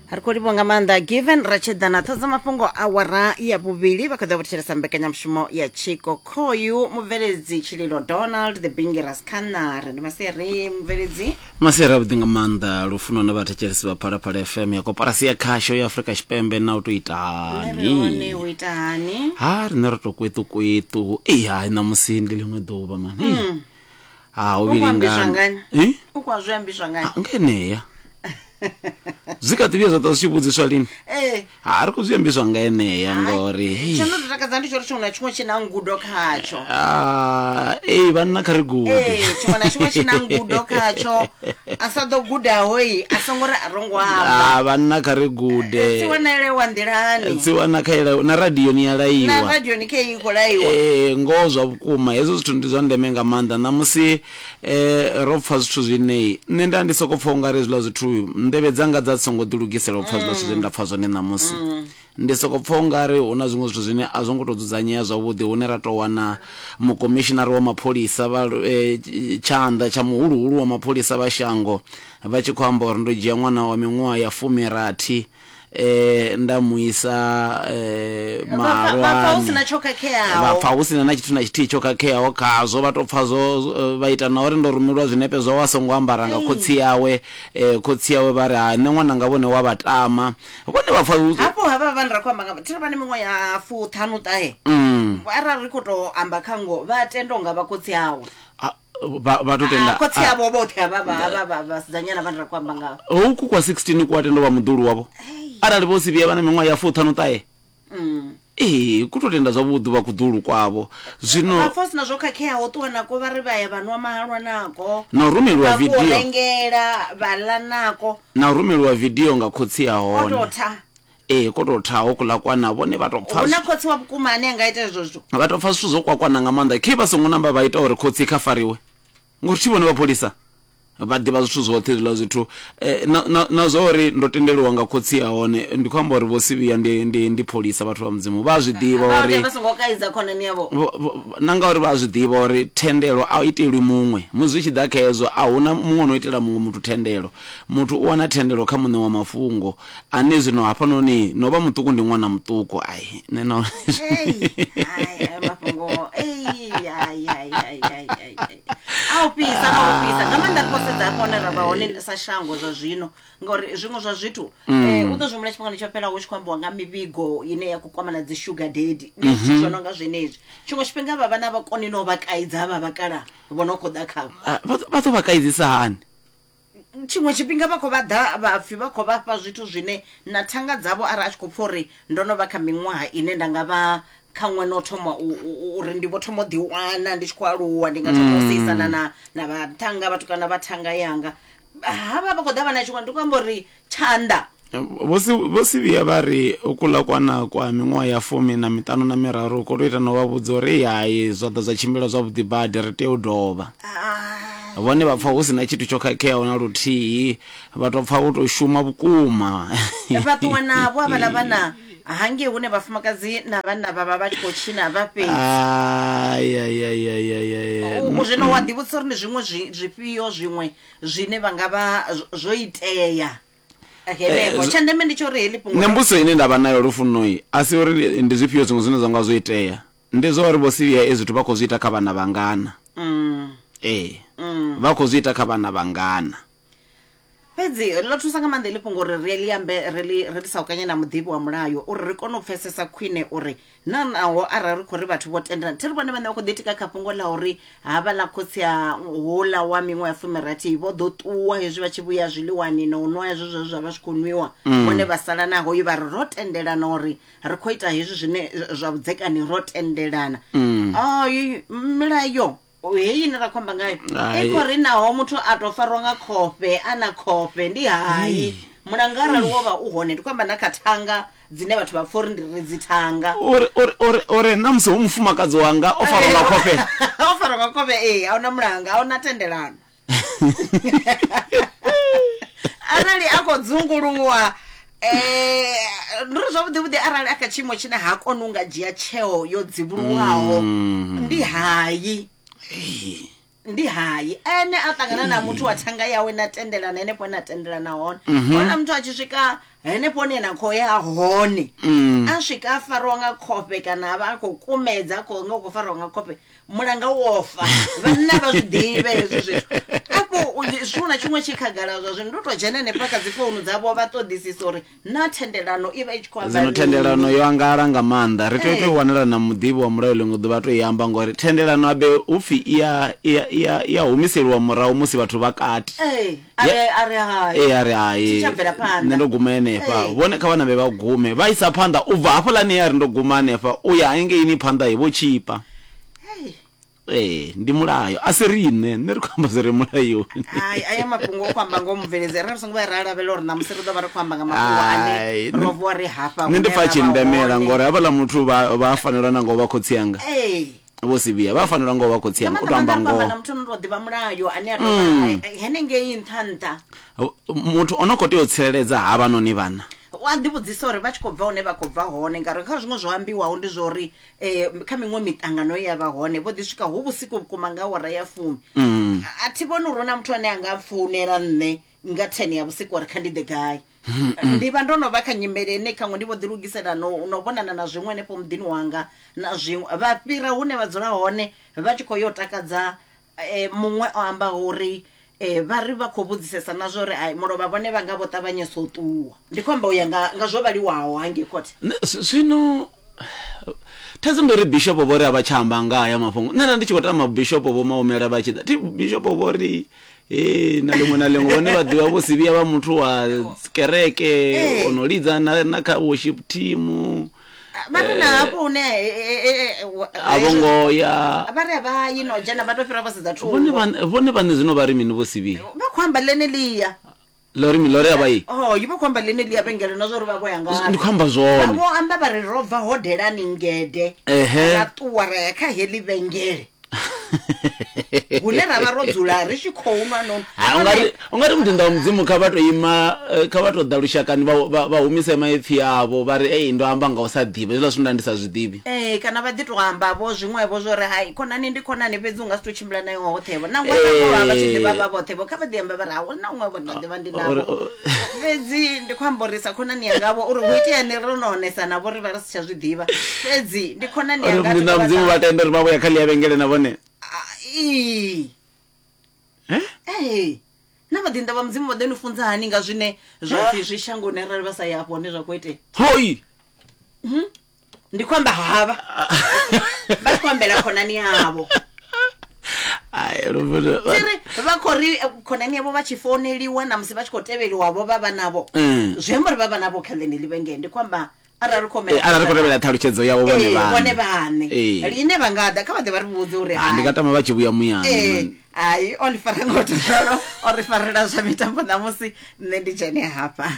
Ri khou livhuwa nga maanḓa Given ra tshi ḓa na ṱhodza mafhungo awara ya vhuvhili vha kha ḓo thetshelesa mbekanyamushumo ya Tshiko. Khoyu mubveledzi Tshililo Donald the Bingiras Khanare ndi masiari mubveledzi. Masiari avhuḓi nga maanḓa lufuno na vhathetshelesi vha Phalaphala FM ya koporasi ya khasho ya Afrika Tshipembe na u tou ita Nṋe ri hone hani. u ita hani? Ha riṋe ro tou kweṱu-kweṱu. Ei hai ṋamusi ndi ḽiṅwe ḓuvha mani. Mm. Ha hu U khou ambiswa vhilingani. ngani? Eh? U khou zwi ambiswa ngani? Ah, nga enea. Zwi kha ḓi vhuya zwa ṱwa zwi tshi vhudziswa lini? Ee. Ha ri khou zwi ambiswa nga enea Hai, ngori hei. tsho no tou takadza ndi tsho uri tshiṅwe na tshiṅwe tshi na ngudo khatsho. Ah, ei vhanna kha ri gude. Ee, tshiṅwe na tshiṅwe tshi na ngudo khatsho. A sa ḓo gudaho i a songo ri a ro ngo amba. Ah, vhanna kha ri gude. Tsiwana wa nḓilani. Tsiwana kha ila na radio ni ya Na laiwa. radio ni khei i khou laiwa. Ee, ngoho zwa vhukuma hezwo zwithu ndi zwa ndeme nga maanḓa ṋamusi eh, ro pfa zwithu zwine nṋe nda ndi soko pfa ungari hezwiḽa zwithu nḓevhe dzanga dza songo ḓilugisela u pfa zwiḽa zwithu zwine nda pfa zwone ṋamusi ndi soko pfa ungari hu na zwiṅwe zwithu zwine a zwo ngo to dzudzanyea zwavhuḓi hune ra to wana mukomishinari wa mapholisa vha tshanḓa tsha muhuluhulu wa mapholisa vha shango vha tshi khou amba uri ndo dzhia ṅwana wa miṅwaha ya fumirathi eh nda mu isa eh Vha pfa- vha pfa hu malwani sina tsho khakheaho. vha pfa hu sina na tshithu na tshithihi tsho khakheaho khazwo vha to pfa zwo vha ita na uri ndo rumelwa zwinepe zwawe a songo ambara nga khotsi yawe eh khotsi yawe vha ri ha nṋe ṅwananga vhone wa vha tama vhone vha pfa hu- Hafho havha vhane ra khou amba nga thiri vha na miṅwaha ya fuṱhanu ṱahe. Arali ri khou tou amba kha ngoho vha tenda unga vha khotsi awe. Ah, vha vha to tenda Ah, khotsi avho vhoṱhe havha vha havha vha vhasidzanyana vhane ra khou amba ngavho. Hoku kwa 16 ku a tenda u vha muḓulu wavho arali vho si vhuya vha na miṅwaha ya fuṱhanu ṱahe. Ee, ku to tenda zwavhuḓi vha kuḓulu kwavho zwino Vha pfa hu sina zwo khakheaho ṱuwa nako vha ri vha ya vha nwa mahalwa nako. Na u rumeliwa Vha ku video. rengela vha ḽa nako. Na u rumeliwa video nga khotsi a O hone. tou tha. Ee, ko tou tha hokuḽa kwana vhone vha tou pfa Hu na khotsi wa vhukuma ane a nga ita hezwo zwithu. Vha tou pfa zwithu zwo kwakwana nga maanḓa. Khe vha songo namba vha ita uri khotsi kha fariwe. Ngori thi vhone vhapholisa vha ḓivha zwithu zwoṱhe hezwiḽa zwithu. Na, na, na zwa uri ndo tendeliwa nga khotsi a hone ndi khou amba uri vho Sivhiya ndi, ndi, ndi pholisa vhathu vha Mudzimu. Vha a zwi ḓivha Vha uri vha songo kaidza khonani yavho. Na ngauri vha a zwi ḓivha uri thendelo a itelwi muṅwe. Musi zwi tshi ḓa kha hezwo a huna muṅwe no itela muṅwe muthu thendelo. Muthu u wana thendelo kha muṋe wa mafhungo. Ane zwino hafhanoni no vha muṱuku ndi ṅwana muṱuku ai nṋe na Ei, hai, ai, mafhungo ei, ai, ai, ai, ai, ai, ai. A u fhisa a u fhisa nga maanḓa ri khou sedza hafha hune ra vha hone sa shango zwa zwino ngauri zwiṅwe zwa zwithu u ḓo zwi humbula tshifhingani tsho fhelaho hu tshi khou ambiwa nga mivhigo ine ya khou kwama na dzi sugar daddy ndi zwithu zwo no nga zwenezwi tshiṅwe tshifhinga vha vhana vha koni no vha kaidza havha vhakalaha vho no khou ḓa khavho. Ah, vha ḓo vha kaidzisa hani? Tshiṅwe tshifhinga vha khou vha ḓa vha pfhi vha khou vha fha zwithu zwine na thanga dzavho arali a tshi khou pfha uri ndo no vha kha miṅwaha ine nda nga vha khaṅwe no thoma uri ndi vho thoma u ḓiwana ndi tshi khou aluwa ndi nga thoma u seisana na na vhathannga vhatukana vha thanga yanga havha vha khou ḓa vha na tshiṅwe ndi khou amba uri tshanḓa. Vho si vho Sibiya vha ri kuḽa kwana kwa miṅwaha ya fumi na miṱanu na miraru kwo tou ita na u vha vhudza uri hai zwa ḓa zwa tshimbila zwavhuḓi badi ri tea u dovha. Vhone vha pfa hu si na tshithu tsho khakheaho na luthihi vha tou pfa vho tou shuma vhukuma. Vha ṱuwa navho havhaḽa vhana hangei hune vhafumakadzi na vhanna vha vha vha tshi khou tshina vha fhedzi. Ai ai ai ai ai ai. U zwino wa ḓivhudzisa uri ndi zwiṅwe zwifhio zwiṅwe zwine vha nga vha zwo itea. Henefho tsha ndeme ndi tsha uri heḽi fhungo Nṋe mbudziso ine nda vha nayo lufunoi a si uri ndi zwifhio zwiṅwe zwine zwa nga zwo itea ndi zwa uri vho Sibiya ezwi zwithu vha khou zwi ita kha vhana vhangana. Ee vha khou zwi ita kha vhana vhangana. Fhedzi ḽo thusa nga maanḓa heḽi fhungo uri ri ḽi ambe ri ḽi ri ḽi saukanye na muḓivhi wa mulayo uri ri kone u pfesesa khwine uri Na naho arali ri khou ri vhathu vho tendelana, thi ri vhone vhaṋe vha khou ḓitika kha fhungo ḽa uri havhaḽa khotsi a houḽa wa miṅwaha ya fumirathi vho ḓo ṱuwa hezwi vha tshi vhuya zwiḽiwani na u nwa hezwo zwe zwa vha zwi khou nwiwa, vhone vha sala na hoyu vha ri ro tendelana uri ri khou ita hezwi zwine zwa vhudzekani ro tendelana. Ai, milayo heyi ine ra khou amba ngayo i khou ri naho muthu a tou farwa nga khofhe a na khofhe ndi hai mulanga arali wo vha u hone ndi khou amba na kha thanga dzine vhathu vha pfa uri ndi ri dzi thanga uri uri uri uri na musi hu mufumakadzi wanga o farwa nga khofhe o farwa nga khofhe ee a huna mulanga a huna thendelano arali a khou dzunguluwa eh ndi uri zwavhuḓi vhuḓi arali a kha tshiimo tshine ha koni u nga dzhia tsheo yo dzivhuluwaho ndi hayi ndi hayi ene a ṱangana na muthu wa thanga yawe na tendelana henefho na tendelana hone hona muthu a tshi swika. Henefho hune na khou ya hone Mm. a swika a farwa nga khofhe kana a vha a khou kumedza a khou nga u khou farwa nga khofhe mulanga wo fa vhanna vha zwi ḓivhe hezwi zwithu afho tshiṅwe na tshiṅwe tshi khagala zwa zwino ndo to dzhena henefha kha dzi founu dzavho vha ṱoḓisisa uri na thendelano i vha i tshi khou amba Zwino thendelano mini. yo angala nga maanḓa ri tea u tou Ee. wanela na muḓivhi wa mulayo ḽiṅwe ḓuvha to i amba ngori thendelano abe upfhi i ya i ya i ya i ya humiseliwa murahu musi vhathu vha kati Ee, a Ya- ri a ri hai ee a ri hai Thi tsha bvela phanḓa. nṋe ndo guma henefha Ee. vhone kha vha nambe vha gume vha isa phanḓa u bva hafhaḽani ya ri ndo guma hanefha u ya hangeini phanḓa hi vho tshipa Hey. Ee, ndi mulayo a si riṋe nṋe ri khou amba zwi re mulayoni Hai, aya mafhungo o khou amba ngoho mubveledzi arali ri songo vhuya ra lavhelela uri ṋamusi ri ḓo vha ri khou amba nga mafhungo ane Hai, ro vuwa ri hafha nṋe ndi hune pfa ra tshi vha ndemela hone. ngori havhaḽa muthu vha vha fanelwa na ngo vha khotsi anga Ee. vho si vhuya vha fanelwa ngo vha khotsi Nga anga u maanḓa to amba maanḓa ri khou amba ngoho na muthu ano tou ḓivha mulayo ane a tou vha henengei nṱha nṱha muthu o no khou tea u tsireledza havhanoni vhana u a ḓivhudzisa uri vha tshi khou bva hune vha khou bva hone ngauri kha zwiṅwe zwo ambiwaho ndi zwa uri um kha miṅwe miṱangano ye ya vha hone vho ḓi swika hu vhusiku vhukuma nga awara ya fumi mm. a thi vhoni uri hu na muthu ane a nga founela nṋe nga 10 ya vhusiku uri kha ndi ḓe gai ndi vha ndo no vha kha nyimele ine khaṅwe ndi vho ḓi lugisela no no vhonana na zwiṅwe henefho muḓini wanga na zwiṅwe vha fhira hune vha dzula hone vha tshi khou yo takadza eh, muṅwe o ambaho uri eh, vha ri vha khou vhudzisesa na zwa uri ai mulovha vhone vha nga vho ṱavhanyesa u ṱuwa ndi khou amba u ya nga, nga zwo vhaliwaho hangei khothe Nṋe- zwino thaidzo ndi uri bishopo vho ri a vha tsha amba nga haya mafhungo nṋe nda ndi tshi khou tama bishopo vho maumela vha tshi ḓa thi bishopo vho ri ee na ḽiṅwe na ḽiṅwe vhone vha ḓivha vho si vhuya vha muthu wa kereke Ee. o no lidza na, na kha worship team vha ri na hafho hune eh, eh, eh, a vho ngo ya vha ri a vha yi no dzhena vha to fhira vha sedza vhone thungo vhaṋe- vhone vhaṋe zwino vha ri mini vho si vhuya vha khou amba ḽeneḽia lori mi lori a vha yi oh vha khou amba ḽeneḽia vhengele na zwa uri vha vho ya ngafhi ndi khou amba Vha zwone vho amba vha ri ro bva hodelani ngede Ehe. ra ṱuwa ra ya kha heḽi vhengele hune ra vha ro dzula ri tshi khou nwa no Ha, ungari ungari muḓinḓa wa mudzimu kha vha to ima eh, kha vha to ḓa lushakani vha, vha, vha humise maipfi avho vha ri ei ndo amba nga u sa ḓivha hezwiḽa zwithu nda ndi sa zwi ḓivhi ee kana vha ḓi to amba vho zwiṅwevho zwo ri hai khonani ndi khonani fhedzi u nga si to tshimbila nayo hoṱhe vho na ṅwana vha tshi ḓivha vha vhoṱhe vho kha vha ḓi amba vha ri ha na ṅwe vho nda ḓivha ndi navho Uri- fhedzi ndi khou amba uri sa khonani yanga vho uri hu itea ni ro no onesa navho ri vha ri si tsha zwi ḓivha fhedzi ndi khonani uri yanga muḓinḓa wa mudzimu vha tenda uri vha vhuya kha ḽia vhengele na vhone ii Eh? ee na vhaḓinḓa vha mudzimu vha ḓo ni funza hani nga zwine zwa pfhi zwi shangoni arali vha sa ya afho hone zwa khou itea hoi ndi khou amba havha vha tshi khou ambela khonani yavho Ai, Lufuno, vha- ri vha khou ri eh, khonani yavho vha tshi founeliwa na musi vha tshi khou tevheliwa vho vha vha navho Mm. zwi amba uri vha vha navho kha ḽeneḽi vhengele ndi khou amba arali ri khou Eh, arali ri khou tevhela ṱhalutshedzo yavho vhone Ee, vhone vhaṋe vhaṋe Ee. line vha nga ḓa kha vha ḓe vha ri vhudze uri Ah, ndi nga tama vha tshi vhuya muyani ee man. hai o ḽi fara ngo to ralo o ri farela zwa mitambo ṋamusi nṋe ndi dzhene hafha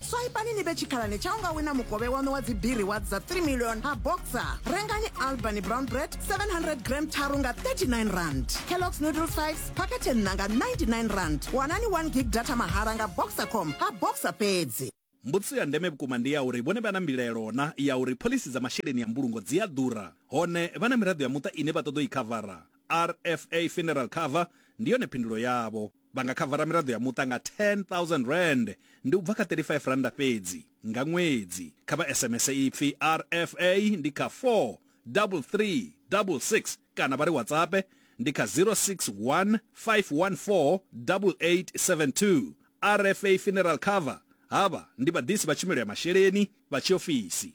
Swaipani ni vhe tshikhalani tsha u nga wina mukovhe waṋu wa dzibiri wa dza 3 million ha Boxer. Rengani Albany Brown Bread 700 gram tharu nga 39 rand. Kellogg's Noodle 5s phakhethe nṋa nga 99 rand. Wanani 1 gig data mahala nga Boxercom ha Boxer fhedzi. Mbudziso ya ndeme vhukuma ndi ya uri vhone vha na mbilaelo na ya uri phoḽisi dza masheleni a mbulungo dzi a ḓura, hone vha na miraḓo ya muṱa ine vha ṱoḓa u i khavara. RFA Funeral Cover ndi yone phindulo yavho. Vha nga khavara miraḓo ya muṱa nga R10 000, ndi u bva kha R35 fhedzi nga ṅwedzi. Kha vha SMS ipfi RFA ndi kha 43366 kana vha ri WhatsApp ndi kha 061 514 8872. RFA Funeral Cover havha ndi vhaḓisi vha tshumelo ya masheleni vha tshiofisi.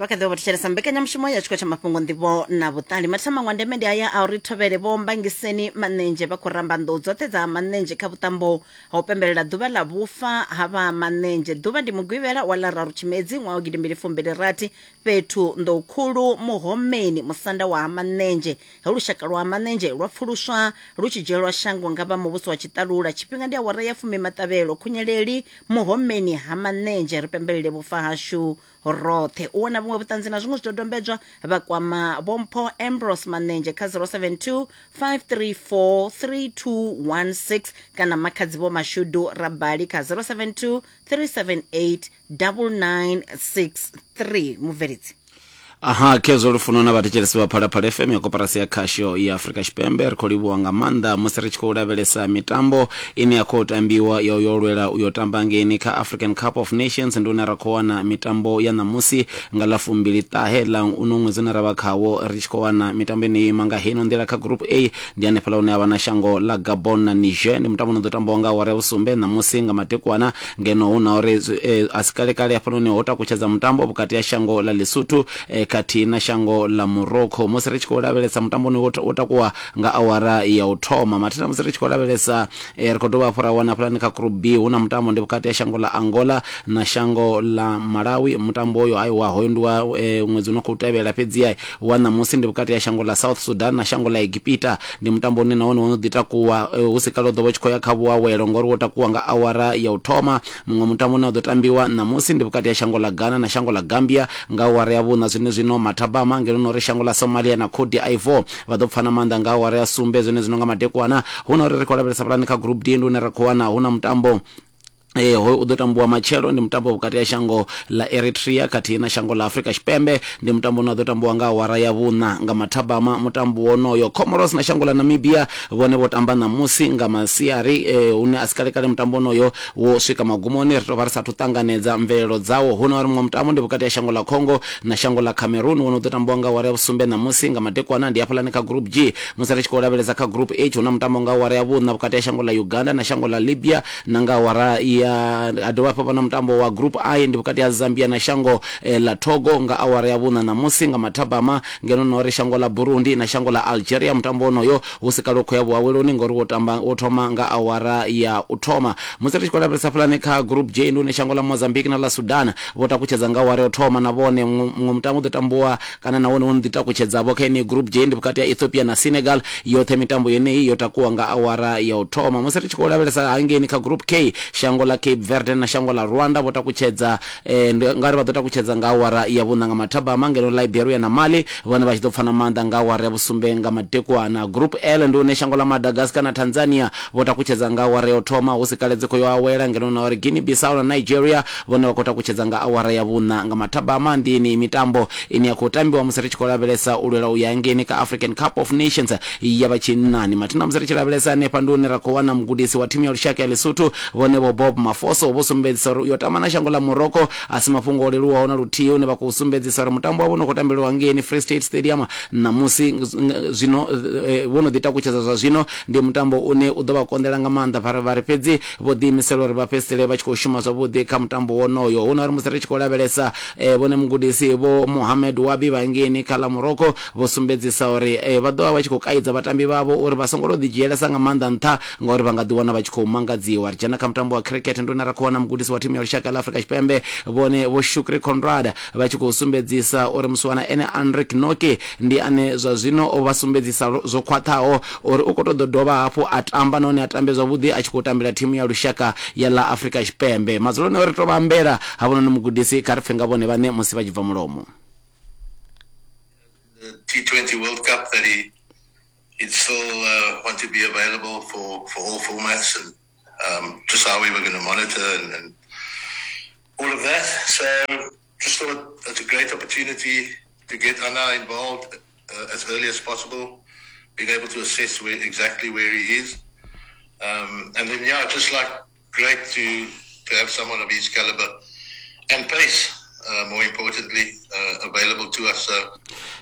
Vha kha ḓi vha vho thetshelesa mbekanyamushumo ya tshikho tsha mafhungo nḓivho na vhuṱali mathina maṅwe a ndeme ndi aya a uri thovhele vho mbangiseni manenzhe vha khou ramba nḓou dzoṱhe dza manenzhe kha vhuṱambo ha u pembelela ḓuvha ḽa vhufa ha vha manenzhe ḓuvha ndi mugwivhela wa ḽa raru tshimedzi ṅwaha wa gidimbili fumbili rathi fhethu nḓou khulu muhomeni musanda wa ha manenzhe he lushaka lwa manenzhe lwa pfuluswa lu tshi dzhielwa shango nga vha muvhuso wa tshiṱalula tshifhinga ndi awara ya fumi maṱavhelo khunyeleli muhomeni ha manenzhe ri pembelele vhufa hashu roṱhe u wana vhuṅwe vhuṱanzi na zwiṅwe zwidodombedzwa vha kwama vhompho Ambrose Manenzhe kha 072 534 3216 kana makhadzi vho Mashudu Rabali kha 072 378 9963 mubveledzi. Aha, khezwo lufuno na vhathetshelesi vha Phalaphala FM ya koporasi ya khasho ya Afrika Tshipembe. Ri khou livhuwa nga maanḓa musi ri tshi khou lavhelesa mitambo ine ya khou tambiwa ya u yo lwela u yo tamba ngeini kha African Cup of Nations. Ndi hune ra khou wana mitambo ya ṋamusi nga ḽa fumbili ṱahe ḽa uno ṅwedzi une ra vha khawo, ri tshi khou wana mitambo ine yo ima nga heino nḓila. Kha Group A ndi hanefhaḽa hune ha vha na shango ḽa Gabon na Niger, ndi mutambo une u ḓo tambiwa nga awara ya vhusumbe ṋamusi nga madekwana. Ngeno hu na uri a si kale-kale hafhanoni ho takutshedza mutambo vhukati ha shango ḽa Lesotho khathihi na shango ḽa Morocco. Musi ri tshi khou lavhelesa mutambo une wo takuwa nga awara ya u thoma mathina, musi ri tshi khou lavhelesa ri khou dovha hafhu ra wana hafhalani kha Group B hu na mutambo ndi vhukati ha shango ḽa Angola na shango ḽa Malawi. Mutambo uyo aiwa hoyo ndi wa ṅwedzi u no khou tevhela, fhedziha wa ṋamusi ndi vhukati ha shango ḽa South Sudan na shango ḽa Egipita. Ndi mutambo une na wone wo no ḓi takuwa hu si kale u ḓo vha u tshi khou ya kha vhuawelo ngori wo takuwa nga awara ya u thoma. Muṅwe mutambo une wa ḓo tambiwa ṋamusi ndi vhukati ha shango ḽa Ghana na shango ḽa Gambia nga awara ya vhuṋa zwenezwino mathabama, ngeno na uri shango ḽa Somalia na Cote d'Ivoire vha ḓo pfana maanḓa nga awara ya sumbe zwenezwino nga madekwana. Hu na uri ri khou lavhelesa hafhaḽani kha Group D ndi hune ra khou wana hu na mutambo Ee, hoyu u ḓo tambiwa matshelo, ndi mutambo vhukati ha shango ḽa Eritrea khathihi na shango ḽa Afrika Tshipembe. Ndi mutambo une wa ḓo tambiwa nga awara ya vhuṋa nga mathabama. Mutambo wonoyo, Comoros na shango ḽa Namibia vhone vho tamba ṋamusi nga masiari, hune a si kale-kale mutambo wonoyo wo swika magumoni. Ri tou vha ri sa athu ṱanganedza mvelelo dzawo. Hu na uri muṅwe mutambo ndi vhukati ha shango ḽa Congo na shango ḽa Cameroon, wone u ḓo tambiwa nga awara ya vhusumbe ṋamusi nga madekwana, ndi hafhaḽani kha Group G. Musi ri tshi khou lavhelesa kha Group H, hu na mutambo nga awara ya vhuṋa vhukati ha shango ḽa Uganda na shango ḽa Libya. Na nga awara ya ha dovha hafhu ha vha na mutambo wa Group I, ndi vhukati ha Zambia na shango ḽa Togo nga awara ya vhuṋa ṋamusi nga mathabama, ngeno na uri shango ḽa Burundi na shango ḽa Algeria mutambo wonoyo hu si kale u khou ya vhuaweloni ngori wo tamba wo thoma nga awara ya u thoma. Musi ri tshi khou lavhelesa hafhaḽani kha Group J ndi hune shango ḽa Mozambique na ḽa Sudan vho takutshedza nga awara ya u thoma na vhone muṅwe mutambo u ḓo tambiwa kana na wone wo no ḓi takutshedza-vho kha yeneyi Group J ndi vhukati ha Ethiopia na Senegal. Yoṱhe mitambo yeneyi yo takuwa nga awara ya u thoma. Musi ri tshi khou lavhelesa hangeini kha Group K, shango ḽa Cape Verde na shango ḽa Rwanda vho takutshedza ndi nga ri vha ḓo takutshedza nga awara ya vhuṋa nga mathabama, ngeno Liberia na Mali vhone vha tshi ḓo pfana maanḓa nga awara ya vhusumbe nga madekwana. Group L ndi hune shango ḽa Madagascar na Tanzania vho takutshedza nga awara ya u thoma, hu si kale dzi khou yo awela, ngeno na uri Guinea Bissau na Nigeria vhone vha khou takutshedza nga awara ya vhuṋa nga mathabama. Ndi yeneyi mitambo ine ya khou tambiwa musi ri tshi khou lavhelesa u lwela u ya hangeini kha African Cup of Nations ya vha tshinnani. Mathina musi ri tshi lavhelesa hanefha ndi hune ra khou wana mugudisi wa thimu ya lushaka ya Lesotho vhone Vho Bob Mafoso vho sumbedzisa uri u yo tamba na shango ḽa Morocco a si mafhungo o leluwaho na luthihi, hune vha khou sumbedzisa uri mutambo wavho une khou tambelwa hangeini Free State Stadium ṋamusi zwino vho no ḓi takutshedza zwa zwino ndi mutambo une u ḓo vha konḓela nga maanḓa vha ri fhedzi vho ḓiimisela uri vha fhedzisele vha tshi khou shuma zwavhuḓi kha mutambo wonoyo. Hu na uri musi ri tshi khou lavhelesa vhone mugudisi Vho Mohamed Wabi vha ngeini kha ḽa Morocco vho sumbedzisa uri vha ḓo vha vha tshi khou kaidza vhatambi vhavho uri vha songo tou ḓidzhielesa nga maanḓa nṱha ngauri vha nga ḓiwana vha tshi khou mangadziwa. Ri dzhena kha mutambo wa cricket ndi hune ra khou wana mugudisi wa thimu ya lushaka ḽa Afrika Tshipembe vhone Vho Shukri Conrad vha tshi khou sumbedzisa uri musiwana ene Anrich Nortje ndi ane zwa zwino o vha sumbedzisa zwo khwaṱhaho uri u khou tou ḓo dovha hafhu a tamba nahone a tambe zwavhuḓi a tshi khou tambela thimu ya lushaka ya ḽa Afrika Tshipembe. Madzuloni o ri tou vha ambela havhanoni mugudisi kha ri pfe nga vhone vhaṋe musi vha tshi bva mulomo. The T20 World Cup that he he'd still want to be available for, for all formats and just how we were going to monitor and, and all of that. So just thought it's a great opportunity to get Anna involved as early as possible, being able to assess where, exactly where he is. And then, yeah, just like great to, to have someone of his caliber and pace, more importantly, available to us. So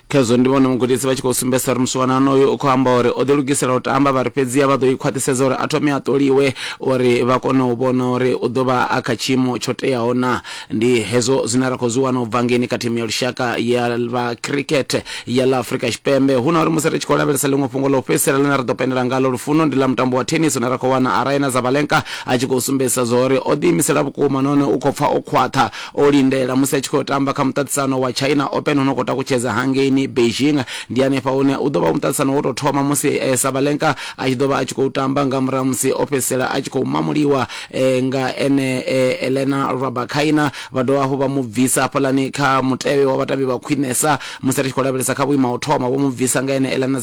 Khezwo ndi vhone mugudisi vha tshi khou sumbedzisa uri musiwana onoyu u khou amba uri o ḓilugisela u tamba, vha ri fhedziha vha ḓo i khwaṱhisedza uri a thome a ṱoliwe uri vha kone u vhona uri u ḓo vha a kha tshiimo tsho teaho naa. Ndi hezwo zwine ra khou zwi wana u bva ngeini kha thimu ya lushaka ya vha cricket ya ḽa Afrika Tshipembe. Hu na uri musi ri tshi khou lavhelesa ḽiṅwe fhungo ḽa u fhedzisela ḽine ra ḓo pendela ngaḽo lufuno ndi ḽa mutambo wa tennis une ra khou wana Aryna Sabalenka a tshi khou sumbedzisa zwa uri o ḓiimisela vhukuma nahone u khou pfa o khwaṱha o lindela musi a tshi khou tamba kha muṱaṱisano wa China Open une u khou takutshedza hangeini. hangeini Beijing. Ndi hanefha hune u ḓo vha u muṱaṱisano wo tou thoma musi eh, Sabalenka a tshi ḓo vha a tshi khou tamba nga murahu musi o fhedzisela a tshi khou mamuliwa eh, nga ene eh, Elena Rybakina vha dovha hafhu vha mu bvisa hafhaḽani kha mutevhe wa vhatambi vha khwinesa musi ri tshi khou lavhelesa kha vhuimo ha u thoma vho mu bvisa nga ene Elena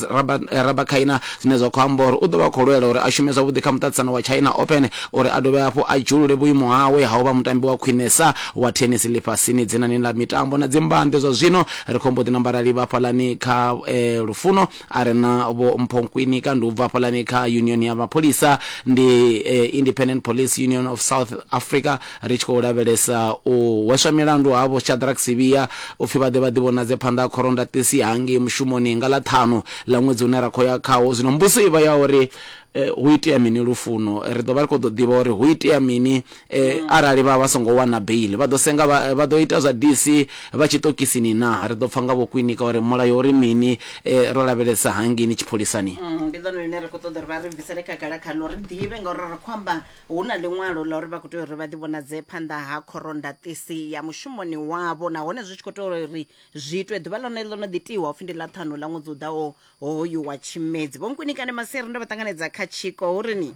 Rybakina zwine zwa khou amba uri u ḓo vha khou lwela uri a shume zwavhuḓi kha muṱaṱisano wa China Open uri a dovhe hafhu a dzhiulule vhuimo hawe ha u vha mutambi wa khwinesa wa thenisi ḽifhasini dzinani ḽa mitambo na dzimbanḓe zwa zwino ri khou mbo ḓi namba ra livha hafhaḽani kha eh, lufuno a re na vho Mpho Nkwinika ndi u bva hafhaḽani kha union ya mapholisa ndi eh, Independent Police Union of South Africa ri tshi khou lavhelesa u hweswa milandu havho Shadrack Sibiya u pfi vha ḓe vha ḓivhonadze phanḓa ha khoro-ndaṱisi hangei mushumoni nga ḽa ṱhanu ḽa ṅwedzi une ra khou ya khawo. Zwino mbudziso i vha ya uri hu itea mini Lufuno? Ri ḓo vha ri khou ḓo ḓivha uri hu itea mini arali vha vha songo wana beiḽi. Vha ḓo senga vha, vha ḓo ita zwa DC vha tshiṱokisini naa? Ri ḓo pfa nga Vho Kwinika uri mulayo uri mini ro lavhelesa hangeini tshipholisani. Ndi ḽone ḽine ri khou ṱoḓa uri vha ri bvisele khagala khaḽo ri ḓivhe ngauri ri khou amba Hu na ḽiṅwalo ḽa uri vha khou tea uri vha ḓivhonadze phanḓa ha khorondaṱisi ya mushumoni wavho nahone zwi tshi khou tea uri zwi itwe ḓuvha ḽone ḽo no ḓi tiwa upfhi ndi ḽa ṱhanu ḽa ṅwedzi u ḓaho hoyu wa Tshimedzi. Vho Nkwinikane Masiari ndo vha ṱanganedza kha tshiko hu ri ni?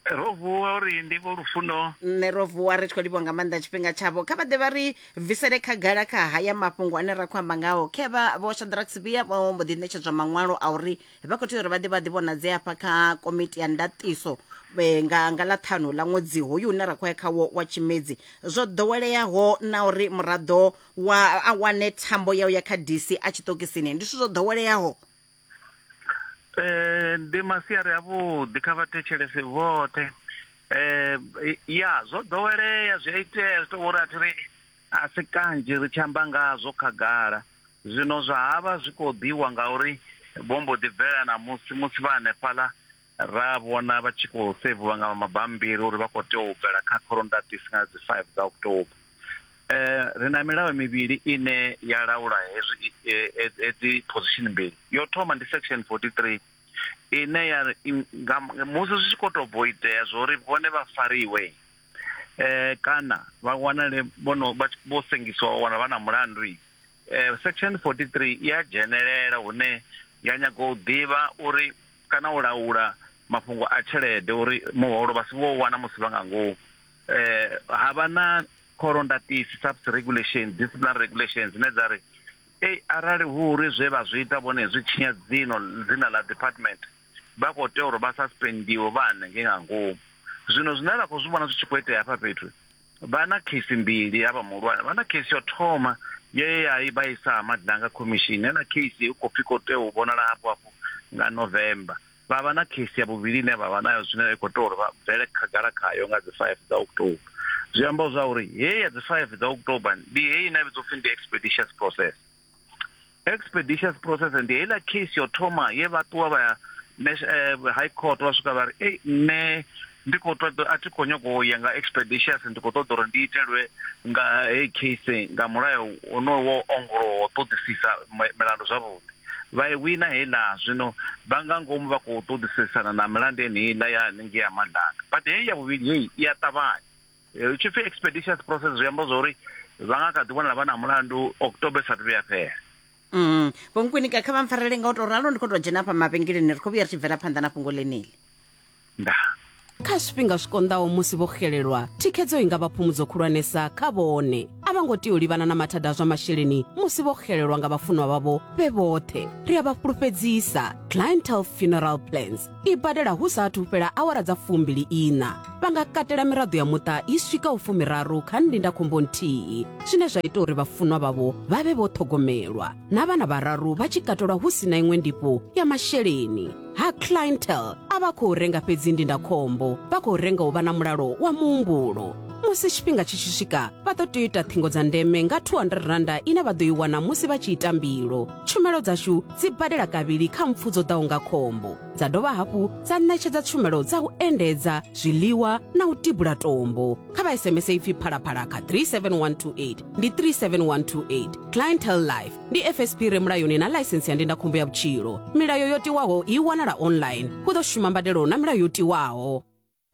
Ro vuwa uri ndi vho Lufuno. Nṋe ro vuwa ri tshi khou livhuwa nga maanḓa tshifhinga tshavho. Kha vha ḓe vha ri bvisele khagala kha haya mafhungo ane ra khou amba ngao. Khevha Vho Shadrack Sibiya vho mbo ḓi ṋetshedzwa maṅwalo a uri vha khou tea uri vha ḓe vha ḓivhonadze hafha kha komiti ya ndaṱiso eh, nga nga ḽa ṱhanu ḽa ṅwedzi hoyu une ra khou ya khawo wa tshimedzi zwo ḓoweleaho na uri muraḓo wa a wane thambo ya u ya kha dc a tshiṱokisini ndi zwithu zwo ḓoweleaho Eh, ndi masiari avhuḓi kha vhathetshelesi vhoṱhe eh ya zwo ḓowelea zwi a itea zwi tou uri a thi ri a si kanzhi ri tshi amba ngazwo khagala Zwino zwa havha zwi khou ḓiwa ngauri vho mbo ḓi bvela ṋamusi musi vha hanefhaḽa ra vhona vha tshi khou seviwa nga mabammbiri uri vha khou tea u bvela kha khoro-ndaṱisi nga dzi 5 dza October. Ri na milayo mivhili ine ya laula hezwi hedzi position mbili. Yo thoma ndi section 43 ine ya ri musi zwi tshi khou tou bva u itea zwa uri vhone vha fariwe kana vha wanale vho no vho sengisiwa vha wanala vha na mulandu Eh, section 43 i a dzhenelela hune ya nyaga u ḓivha uri kana u laula mafhungo a tshelede uri muholo vha si vho wana musi vha nga ngomu eh ha vha na khoro-ndaṱisi subs regulation disciplinary regulations dzine dza ri ei arali hu uri zwe vha zwi ita vhone zwi tshinya dzino dzina ḽa department vha khou tea uri vha suspendiwe vha hanengei nga ngomu zwino zwine ra khou zwi vhona zwi tshi khou itea hafha fhethu Vha na kheisi mbili havha muhulwane, vha na kheisi yo thoma ye ya i vha isa ha Madlanga Commission, heiḽa kheisi hu khou pfi khou tea u vhonala hafhu hafhu nga November. Vha vha na kheisi ya vhuvhili ine vha vha nayo zwino i khou tea uri vha bvele khagala khayo nga dzi 5 dza October. Zwi amba zwa uri heyi ya dzi 5 dza October ndi heyi ine ya vhidzwa upfi ndi expeditious process. Expeditious process ndi heiḽa case yo thoma ye vha ṱuwa vha ya eh, high court vha swika vha ri ei nṋe ndi khou ṱoḓa a thi khou nyago u ya nga expeditious ndi khou ṱoḓa uri ndi itelwe nga heyi case nga mulayo wonoyo wo ongolowa ṱoḓisisa milandu zwavhuḓi vha i wina heiḽa zwino vha nga ngomu vha khou ṱoḓisisana na milandu yeneiḽa ya haningei ya Madlanga but heyi ya vhuvhili heyi i a ṱavhanya Hu tshi pfi expeditious process zwi amba zwori vha nga kha ḓi wanala vha na mulandu October sathu vhuya fhela. Mm. Vho Nkwinika kha vha mpfarele nga u tou ralo ndi khou tou dzhena hafha mavhengeleni ri khou vhuya ri tshi bvela phanḓa na fhungo ḽeneḽi. Ndaa. Kha zwifhinga zwi konḓaho musi vho xelelwa, thikhedzo i nga vha phumudzo khulwanesa kha vhone. A vha ngo tea u livhana na mathada a zwa masheleni musi vho xelelwa nga vhafunwa vhavho vhe vhoṱhe. Ri a vha fhulufhedzisa, Clientele Funeral Plans i badela hu sa athu fhela awara dza fumbili iṋa. Vha nga katela miraḓo ya muṱa i swikaho fumiraru kha ndindakhombo nthihi, zwine zwa ita uri vhafunwa vhavho vha vhe vho ṱhogomelwa, na vhana vhararu vha tshi katelwa hu si na iṅwe ndifho ya masheleni. Ha Clientele a vha khou renga fhedzi ndindakhombo, vha khou renga u vha na mulalo wa muhumbulo. Musi tshifhinga tshi tshi swika, vha ḓo tea u ita ṱhingo dza ndeme nga R200 ine vha ḓo i wana musi vha tshi ita mbilo. Tshumelo dzashu dzi badela kavhili kha mpfu dzo ḓaho nga khombo, dza dovha hafhu dza ṋetshedza tshumelo dza u endedza, zwiḽiwa na u tibula tombo. Kha vha SMS ipfi Phalaphala kha 37128 ndi 37128. Clientele Life ndi FSP re mulayoni na ḽaisensi ya ndindakhombo ya vhutshilo. Milayo yo tiwaho i wanala online. Hu ḓo shuma mbadelo na milayo yo tiwaho.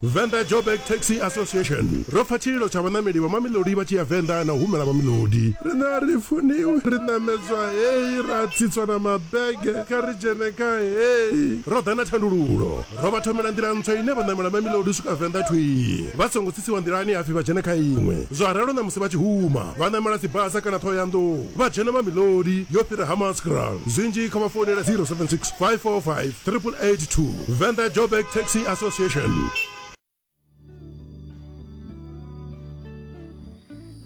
Venḓa Joburg Taxi Association ro pfa tshililo tsha vhaṋameli vha Mamelodi vha tshi ya Venḓa na u humela Mamelodi. Riṋe a ri funiwi, ri ṋamedzwa hei ra tsitswa na mabege, kha ri dzhene kha hei. Ro ḓa na thandululo, ro vha thomela nḓila ntswa ine vha ṋamela Mamelodi u swika Venḓa thwii vha songo tsitsiwa nḓilani ha pfi vha dzhene kha iṅwe. Zwa ralo ṋamusi vha tshi huma, vha ṋamela dzibasa kana Ṱhohoyanḓou vha dzhena Mamelodi yo fhira Hammanskraal. Zwinzhi kha vha founele 076 545 8882. Venḓa Joburg Taxi Association.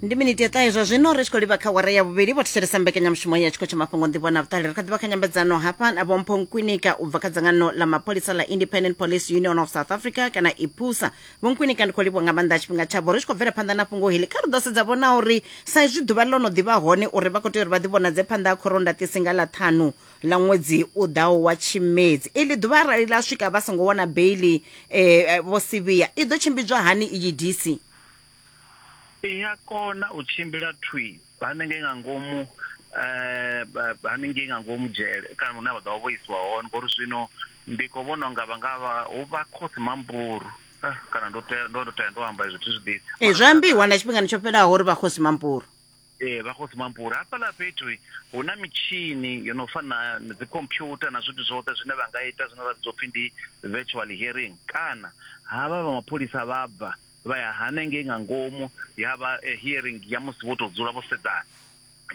Ndi miniti ya ṱahe zwa zwino ri tshi khou livha kha wara ya vhuvhili. Vho thetshelesa mbekanyamushumo ya tshiko tsha mafhungo nḓivho na vhuṱali. Ri kha ḓivha kha nyambedzano hafha na Vho Mpho Nkwinika u bva kha dzangano ḽa mapholisa ḽa Independent Police Union of South Africa kana IPUSA. Vho Nkwinika, ndi khou livhuwa nga maanḓa tshifhinga tshavho. Ri tshi khou bvela phanḓa na fhungo heḽi, kha ri ḓo sedza vhona uri sa izwi ḓuvha ḽo no ḓivha hone uri vha khou tea uri vha ḓivhonadze phanḓa ha khoro ndaṱisi nga ḽa ṱhanu ḽa ṅwedzi u ḓaho wa Tshimedzi. Iḽi ḓuvha arali ḽa swika vha songo wana beiḽi Vho Sibiya, i ḓo tshimbidzwa hani iyi DC? I a kona u tshimbila thwi hanengei nga ngomu hanengei nga ngomu dzhele kana hune vha ḓo vha vho isiwa hone, ngori zwino ndi khou vhona unga vha nga vha hu vha khosi Mampuru kana ndo tea ndo tea ndo amba izwo thi zwi ḓivhi. Ee, zwo ambiwa na tshifhingani tsho fhelaho uri vha khosi Mampuru. Ee, vha Khosi Mampuru. Hafhaḽa fhethu hu na mitshini yo no fana na dzikhomphyutha na zwithu zwoṱhe zwine vha nga ita zwine zwa vhidzwa upfhi ndi virtual hearing, kana havha vha mapholisa vha bva vha ya hanengei nga ngomu ya vha hearing ya musi vho tou dzula vho sedzana.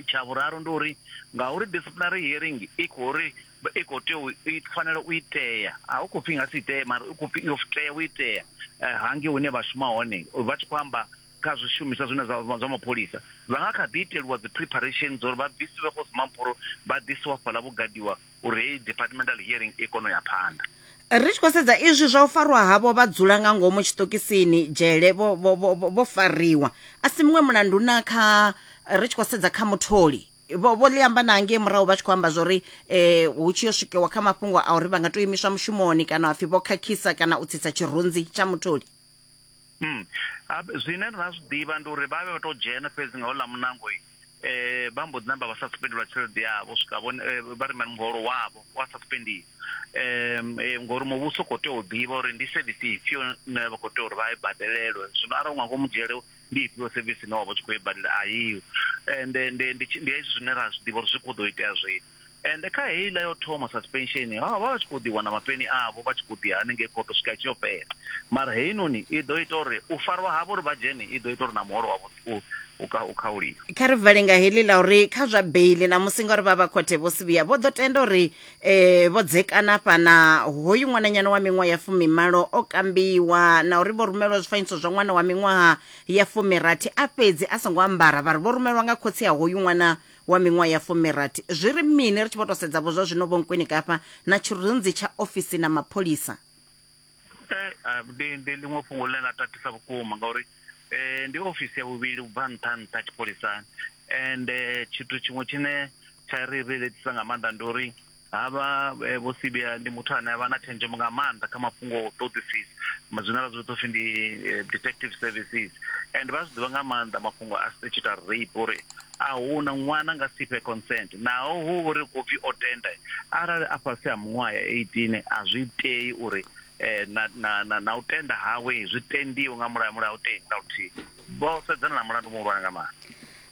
Tsha vhuraru ndi uri ngauri disciplinary hearing i khou ri i khou tea u i fanela u itea, a hu khou pfhi i nga si itee mara i khou pfhi yo tea u itea hangei hune vha shuma hone vha tshi khou amba kha zwishumiswa zwine zwa vha zwa mapholisa, vha nga kha ḓi itelwa dzi preparation dza uri vha bvisiwe Kgosi Mampuru vha ḓisiwa fhaḽa vho gadiwa uri heyi departmental hearing i kone u ya phanḓa. Ri tshi khou sedza izwi zwa u farwa havho vha dzula nga ngomu tshiṱokisini dzhele vho, vho, vho, vho fariwa, a si muṅwe mulandu na kha ri tshi khou sedza kha mutholi vho vho ḽi amba na ngei murahu vha tshi khou amba zwori eh hu tshi yo swikiwa kha mafhungo a uri vha nga tou imiswa mushumoni kana hapfi vho khakhisa kana u tsitsa tshirunzi tsha mutholi. Mm. Zwine ra zwi ḓivha ndi uri vha vhe vha tou dzhena fhedzi nga houḽa muṋango vha mbo ḓi namba vha suspendelwa tshelede yavho swika vhone vha ri muholo wavho wa suspendiwa ngori muvhuso u khou tea u ḓivha uri ndi service ifhio ine vha khou tea uri vha i badelelwe. Zwino arali u nga ngomu dzhele ndi ifhio service ine wa vha u tshi khou i badela a iho. Ende ndi ndi hezwi zwine ra zwi ḓivha uri zwi khou ḓo itea zwino. Ende kha heiḽa yo thoma suspension vha vha tshi khou ḓi wana mapeni avho vha tshi khou ḓi ya hanengei khotho swika itshi yo fhela. Mara heinoni i ḓo ita uri u farwa havho uri vha dzhene i ḓo ita uri na muholo wavho u u khauliwe. Kha ri vale nga heḽi ḽa uri kha zwa beiḽi ṋamusi ngauri vha vha khothe Vho Sibiya vho ḓo tenda uri vho dzekana afha na hoyu ṅwananyana wa miṅwaha ya fumimalo o kambiwa na uri vho rumelwa zwifanyiso zwa ṅwana wa miṅwaha ya fumirathi a fhedzi a songo ambara vha ri vho rumelwa nga khotsi a hoyu ṅwana wa miṅwaha ya fumirathi. Zwi ri mini ri tshi vho tou sedza vho zwa zwino Vho Nkwinika hafha na tshirunzi tsha ofisi na mapholisa? Ndi, ndi ḽiṅwe fhungo ḽine ḽa tatisa vhukuma ngauri ndi ofisi ya vhuvhili u bva nṱha nṱha tshipholisani ende tshithu tshiṅwe tshine tsha ri riletisa nga maanḓa ndi uri Havha Vho Sibiya ndi muthu ane avha na tshenzhemo nga maanḓa kha mafhungo a u ṱoḓisisa, zwine ra zwi vhidza upfhi ndi detective services, and vha zwi ḓivha nga maanḓa mafhungo a statutory rape uri a huna ṅwana nga si fhe consent naho hu uri khou pfhi o tenda, arali a fhasi ha miṅwaha ya 18 a zwi tei uri na, na, na, na u tenda hawe zwi tendiwe nga mulayo, mulayo a u tendi na luthihi. Vho sedzana na mulandu muhulwane nga maanḓa.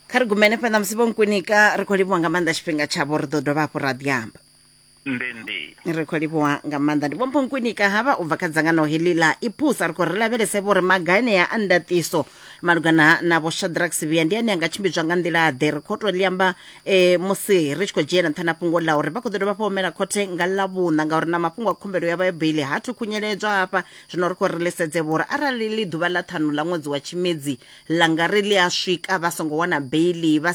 Kha ri gume henefha ṋamusi Vho Nkwinika, ri khou livhuwa nga maanḓa tshifhinga tshavho, ri ḓo dovha hafhu ra ḓi amba. Ndi ndi. Ri khou livhuwa nga maanḓa. Ndi Vho Mpho Nkwinika havha u bva kha dzangano heḽi ḽa IPUSA. Ri khou ri lavhelese vho uri maga anea a ndaṱiso malugana na Vho Shadrack Sibiya ndi ane a nga tshimbidzwa nga nḓila ḓe. Ri khou tou ḽi amba musi ri tshi khou dzhiela nṱha na fhungo ḽa uri vha khou ḓo dovha hafhu humela khothe nga Ḽavhuṋa ngauri na mafhungo a khumbelo yavho ya beiḽi ha thu khunyeledzwa hafha. Zwino ri khou ri ḽi sedze vho uri arali ḽi ḓuvha ḽa ṱhanu ḽa ṅwedzi wa Tshimedzi ḽa nga ri ḽi a swika vha songo wana beiḽi vha.